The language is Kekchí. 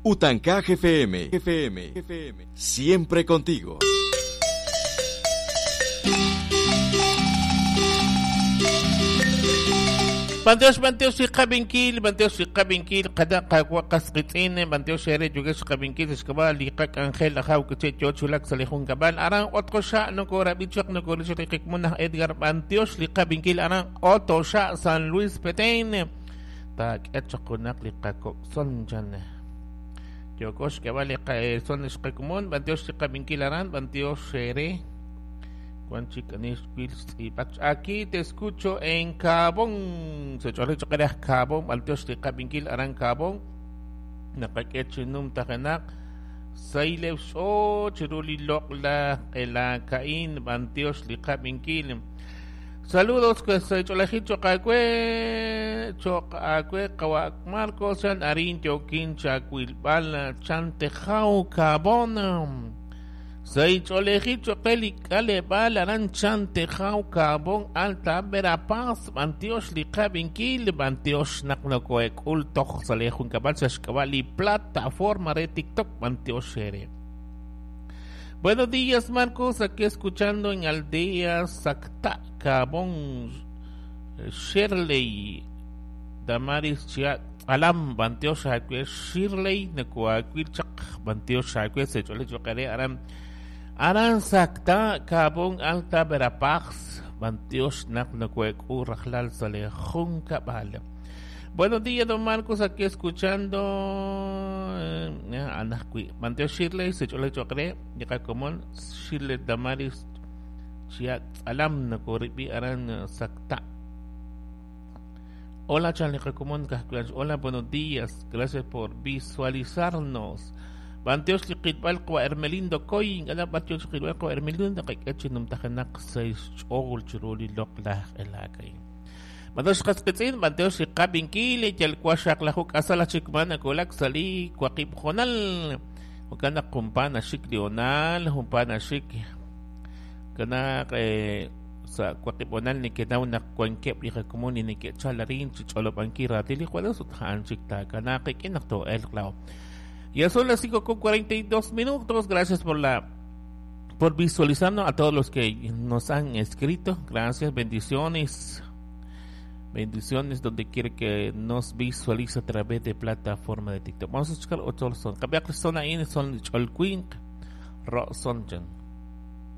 Utancaj FM, FM, FM, siempre contigo. Banteos, banteos, xikabinkil, banteos, xikabinkil, kada qas qitz'in, banteos xere yugex xikabinkil, xkabal, liqak Angel, ajaw, kiche, chochulak, salejun kabal, aran, otro xa, no korabichak, no korichak, liqikmunah, Edgar, banteos, liqabinkil, aran, otro xa, San Luis Petén, tak, echakunak, liqakok, son, chan. Yokox, kabal, son, xkakumun, banteos, liqabinkil, aran, banteos, xere, Aquí te escucho en Cabón. Se chole chokere Cabón, Banteos liqabinkil aran Cabón. Naqak'echinum tajanak. Sailev so chiruli lokla elakain Banteos liqabinkil. Saludos que se cholaji chokakue chokakue kawak Marcos san arin yokin chacuilbal chantejau Cabón. Seicholeji chokeli kalebal aran chantejau Cabón Alta Verapaz Banteos liqabinkil Banteos naknokoek ultoj salejun cabal sashkabali plataforma de TikTok Banteos shere. Buenos días, Marcos, aquí escuchando en Aldea Sacta Cabón Shirley Damaris Chia Alam Banteos Shakwe Shirley Nekuakwil Chak Banteos Shakwe Sechole Chokare Aram Aran Sacta Cabón Alta Verapaz Banteos Naknokuek Urajlal Salejun Cabal. Buenos días, don Marcos, aquí escuchando Anascui. Banteos Shirley, Sechole Chokare, Yakacomón, Shirley Damaris Chia Alam Nakoribi Aran Sacta. Hola, Charlie Recomón Cascuans. Hola, buenos días. Gracias por visualizarnos. Banteos liqitbalqwa Hermelindo Coy, ala banteos liqitbalqwa Hermelindo qik'echinum tajanak seis ch'ol chiruli loqlaj elakay. Banteos qasqitz'in, banteos liqabinkil, yalkuaxaq lajuk asala chikmana kulak sali kuaqib jonal. Ukana kumpana xik leonal, humpana xik kana sa kuaqibonal ni kenaw na kuankep li rekomuni ni ke chalarin chicholopanki ratili juelos uthan chikta kana qikinaq to el clavo. Ya son las 5:42. Gracias por visualizarnos, a todos los que nos han escrito. Gracias, bendiciones. Bendiciones donde quiere que nos visualice a través de plataforma de TikTok. Vamos a escuchar otro son. Cambiar son ahí son cholquink ro son.